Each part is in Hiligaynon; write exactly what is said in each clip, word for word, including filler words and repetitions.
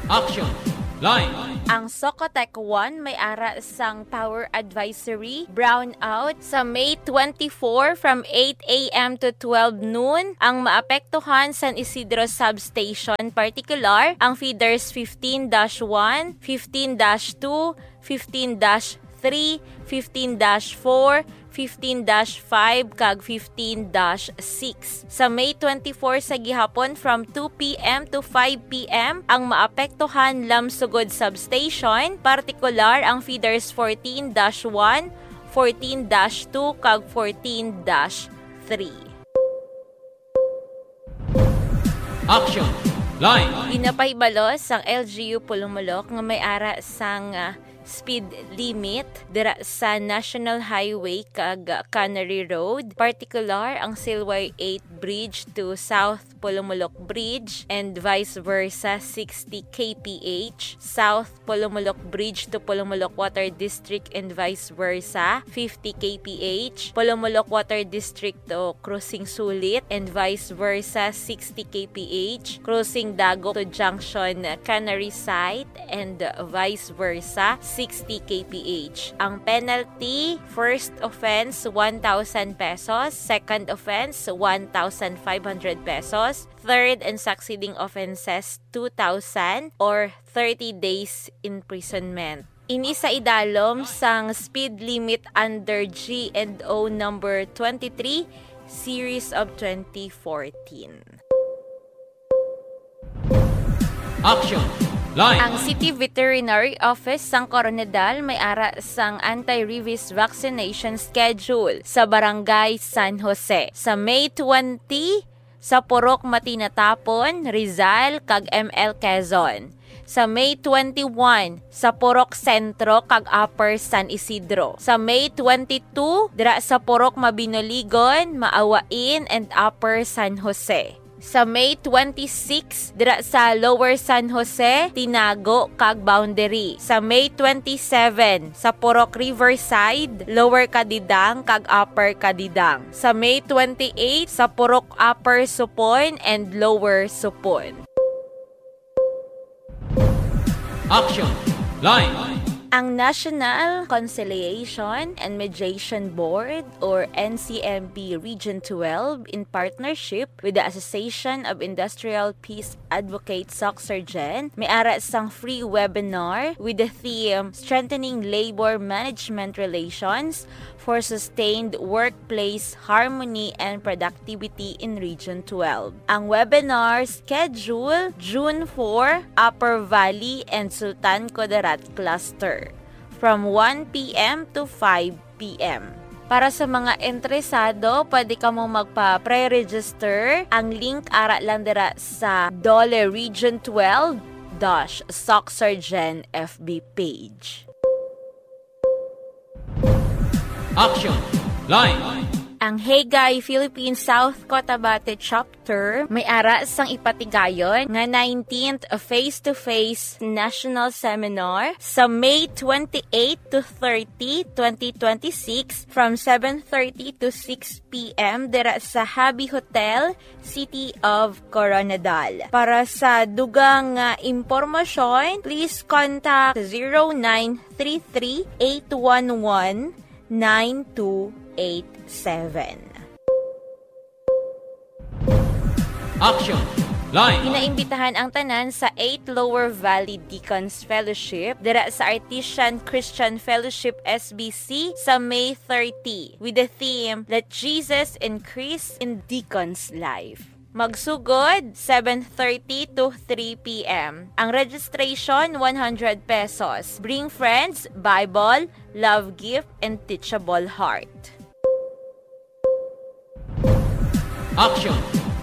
Action! Line! Ang Socotec one may ara sang power advisory brownout sa May twenty-four from eight a m to twelve noon. Ang maapektuhan San Isidro Substation, partikular ang feeders fifteen dash one, fifteen dash two, fifteen dash three, fifteen dash four, fifteen dash five, kag fifteen dash six. Sa May twenty-four sa gihapon, from two p m to five p m, ang maapektuhan Lamsugod Substation, partikular ang feeders fourteen dash one, fourteen dash two, kag fourteen dash three. Action! Line! Ginapahibalo sang L G U Polomolok nga may ara sang, ah, speed limit dira sa National Highway kag Cannery Road, partikular ang Silway eight Bridge to South Polomolok Bridge and vice versa, sixty K P H, South Polomolok Bridge to Polomolok Water District and vice versa, fifty K P H, Polomolok Water District to Crossing Sulit and vice versa, sixty K P H, Crossing Dago to Junction Cannery Site and vice versa, sixty K P H. Ang penalty, first offense, one thousand pesos, second offense, one thousand five hundred pesos, third and succeeding offenses, two thousand or thirty days imprisonment. Ini sa idalom sang speed limit under G and O number twenty-three, series of twenty fourteen. Action! Line! Ang City Veterinary Office sang Koronadal may ara sang anti-rabies vaccination schedule sa Barangay San Jose sa May twenty, sa Purok Matinatapon, Rizal, kag M L Quezon. Sa May twenty-one, sa Purok Centro kag Upper San Isidro. Sa May twenty-two, dira sa Purok Mabinoligon, Maawain, and Upper San Jose. Sa May twenty-six, dira sa Lower San Jose, Tinago, kag Boundary. Sa May twenty-seven, sa Purok Riverside, Lower Cadidang, kag Upper Cadidang. Sa May twenty-eight, sa Purok Upper Supon and Lower Supon. Action! Line! Ang National Conciliation and Mediation Board, or N C M B Region twelve, in partnership with the Association of Industrial Peace Advocates, SOCSARGEN, may ara sang free webinar with the theme Strengthening Labor Management Relations for Sustained Workplace Harmony and Productivity in Region twelve. Ang webinar schedule, June four, Upper Valley and Sultan Kudarat Cluster, from one p m to five p m. Para sa mga interesado, pwede kamo magpa-pre-register. Ang link ara lang dira sa DOLE Region twelve dash SOCSARGEN F B page. Action! Line! Ang Hagay Philippine South Cotabato Chapter may ara sang ipatigayon nga nineteenth face-to-face national seminar sa May twenty-eight to thirty, twenty twenty-six, from seven thirty to six p m dira sa Habi Hotel, City of Koronadal. Para sa dugang nga impormasyon, please contact zero nine three three eight one one nine two eight seven. Action! Line! Ginaimbitahan ang tanan sa eight Lower Valley Deacons Fellowship dira sa Artesian Christian Fellowship, S B C, sa May thirty, with the theme, Let Jesus Increase in Deacon's Life. Magsugod, seven thirty to three p m. Ang registration, one hundred pesos. Bring friends, Bible, love gift, and teachable heart. Action!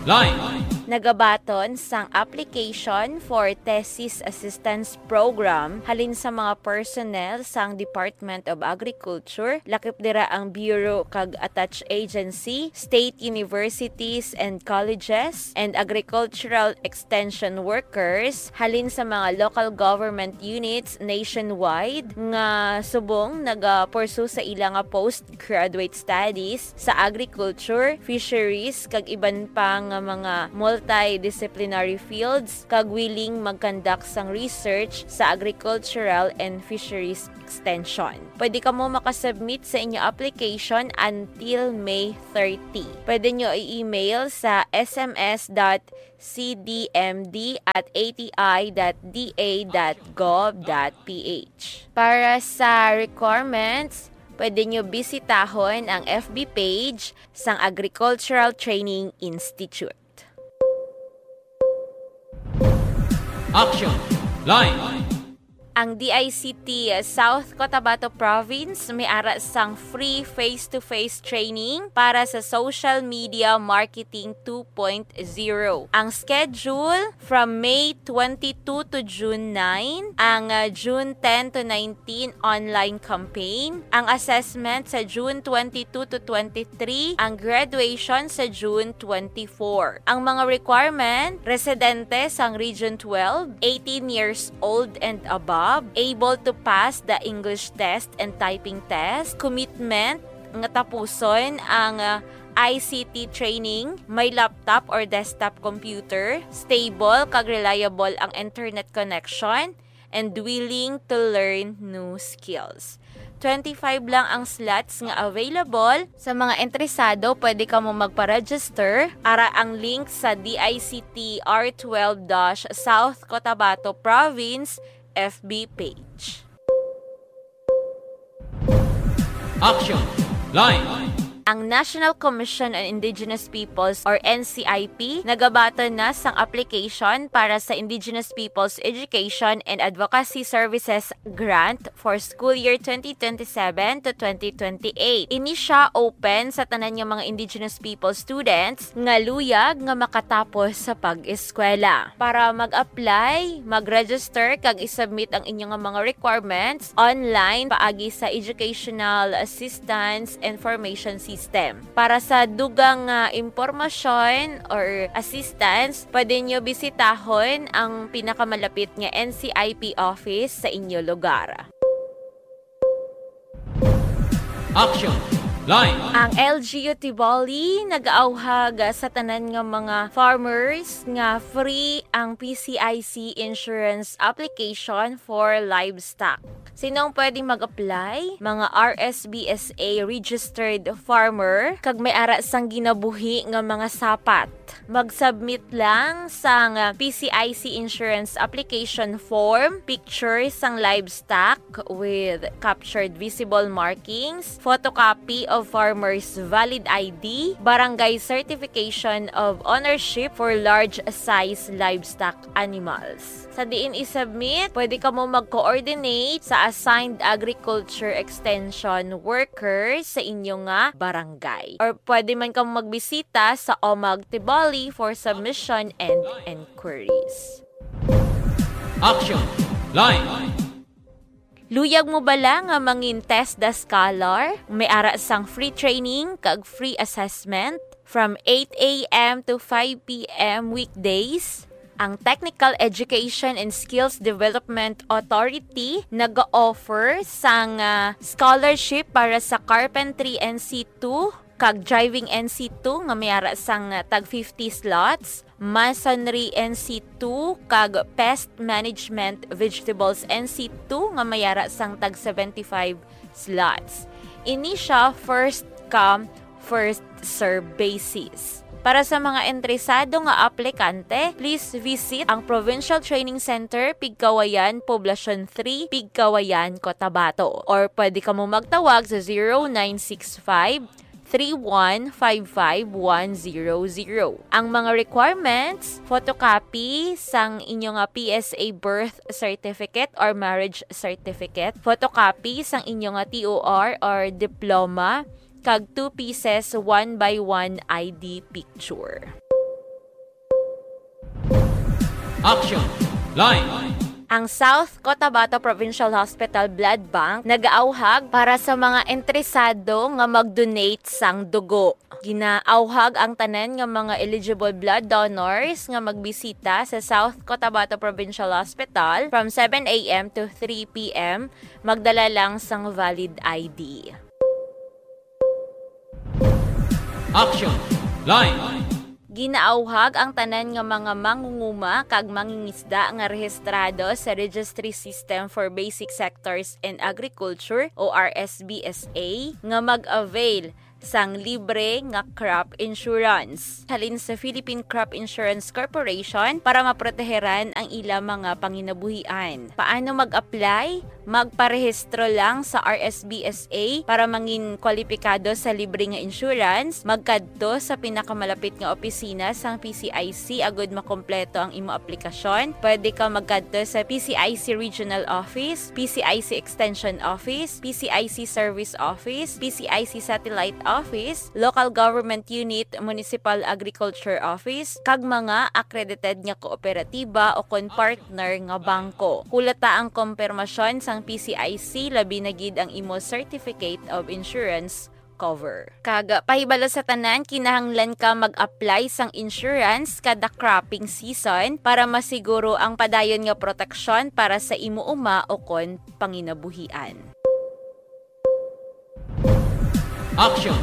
Line! Nagabaton sang application for Thesis Assistance Program halin sa mga personnel sang Department of Agriculture, lakip dira ang Bureau kag attached agency, state universities and colleges, and agricultural extension workers halin sa mga local government units nationwide nga subong nagapursu sa ila nga post graduate studies sa agriculture, fisheries, kag iban pa nga mga multidisciplinary fields, kag willing mag-conduct sang research sa agricultural and fisheries extension. Pwede kamo makasubmit sa inyo application until May thirty. Pwede nyo i-email sa S M S dot C D M D at A T I dot D A dot gov dot P H. Para sa requirements, pwede nyo bisitahon ang F B page sang Agricultural Training Institute. Action Line. Ang D I C T South Cotabato Province may ara sang free face-to-face training para sa social media marketing two point zero. Ang schedule, from May twenty-two to June nine, ang, ah, June ten to nineteen online campaign, ang assessment sa June twenty-two to twenty-three, ang graduation sa June twenty-four. Ang mga requirement, residente sang Region twelve, eighteen years old and above, able to pass the English test and typing test, commitment nga tapuson ang, ah, I C T training, may laptop or desktop computer, stable kag reliable ang internet connection, and willing to learn new skills. Twenty-five lang ang slots nga available. Sa mga interesado, pwede kamo magpa-register. Ara ang link sa D I C T R twelve dash South Cotabato Province F B page. Action Line. Ang National Commission on Indigenous Peoples or N C I P nagabaton na sang application para sa Indigenous Peoples Education and Advocacy Services Grant for school year twenty twenty-seven to twenty twenty-eight. Ini sia open sa tanan nga mga Indigenous People students nga luyag nga makatapos sa pag-eskwela. Para mag-apply, mag-register kag i-submit ang inyo nga mga requirements online paagi sa Educational Assistance Information System. Para sa dugang nga impormasyon or assistance, pwede nyo bisitahon ang pinakamalapit nga N C I P office sa inyo lugar. Action Line. Ang L G U Tiboli nag-auhag sa tanan nga mga farmers nga free ang P C I C insurance application for livestock. Sino ang pwede mag-apply? Mga R S B S A registered farmer kag may ara sang ginabuhi nga mga sapat. Mag-submit lang sang P C I C insurance application form, picture sang livestock with captured visible markings, photocopy of farmer's valid I D, barangay certification of ownership for large size livestock animals. Sa diin i-submit, pwede kamo mag-coordinate sa assigned agriculture extension worker sa inyo nga barangay. Or pwede man kamo magbisita sa OMAG Tiboli for submission and inquiries. Action Line. Luyag mo bala nga mangin TESDA scholar? May ara sang free training kag free assessment from eight A M to five P M weekdays. Ang Technical Education and Skills Development Authority nag-offer sang, ah, scholarship para sa Carpentry N C two kag Driving N C two nga may ara sang, ah, tag fifty slots, Masonry N C two kag Pest Management Vegetables N C two nga may ara sang tag seventy-five slots. Ini sia first come, first serve basis. Para sa mga interesado nga aplikante, please visit ang Provincial Training Center, Pigkawayan, Poblacion three, Pigkawayan, Cotabato. Or pwede kamo magtawag sa zero nine six five, three one five five one zero zero. Ang mga requirements, photocopy sang inyo nga P S A birth certificate or marriage certificate, photocopy sang inyo nga T O R or diploma, kag two pieces one by one I D picture. Action Line. Ang South Cotabato Provincial Hospital Blood Bank nagaawhag para sa mga interesado nga mag-donate sang dugo. Ginaawhag ang tanan nga mga eligible blood donors nga magbisita sa South Cotabato Provincial Hospital from seven A M to three P M. Magdala lang sang valid I D. Action Line. Ginaawhag ang tanan nga mga mangunguma kag mangingisda nga rehistrado sa Registry System for Basic Sectors in Agriculture o R S B S A nga mag-avail sang libre nga crop insurance halin sa Philippine Crop Insurance Corporation para maproteheran ang ila mga panginabuhian. Paano mag-apply? Magparehistro lang sa R S B S A para mangin kwalipikado sa libre nga insurance. Magkadto sa pinakamalapit nga opisina sang P C I C agud makompleto ang imo aplikasyon. Pwede ka magkadto sa P C I C Regional Office, P C I C Extension Office, P C I C Service Office, P C I C Satellite Office, Local Government Unit, Municipal Agriculture Office, kag mga accredited nga kooperatiba o kon partner nga bangko. Hulata ang kompirmasyon sang P C I C, labi na gid ang imo Certificate of Insurance cover. Kag pahibalo sa tanan, kinahanglan ka mag-apply sang insurance kada cropping season para masiguro ang padayon nga proteksyon para sa imo uma o kon panginabuhian. Action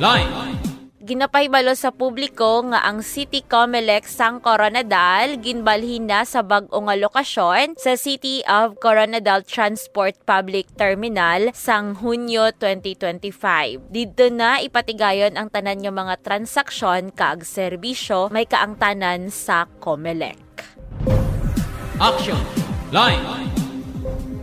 Line. Ginapahibalo sa publiko nga ang City Comelec sang Koronadal ginbalhin na sa bag-o nga lokasyon sa City of Coronadal Transport Public Terminal sang Hunyo twenty twenty-five. Didto na ipatigayon ang tanan nga mga transaksyon kag serbisyo may kaangtanan sa Comelec. Action Line.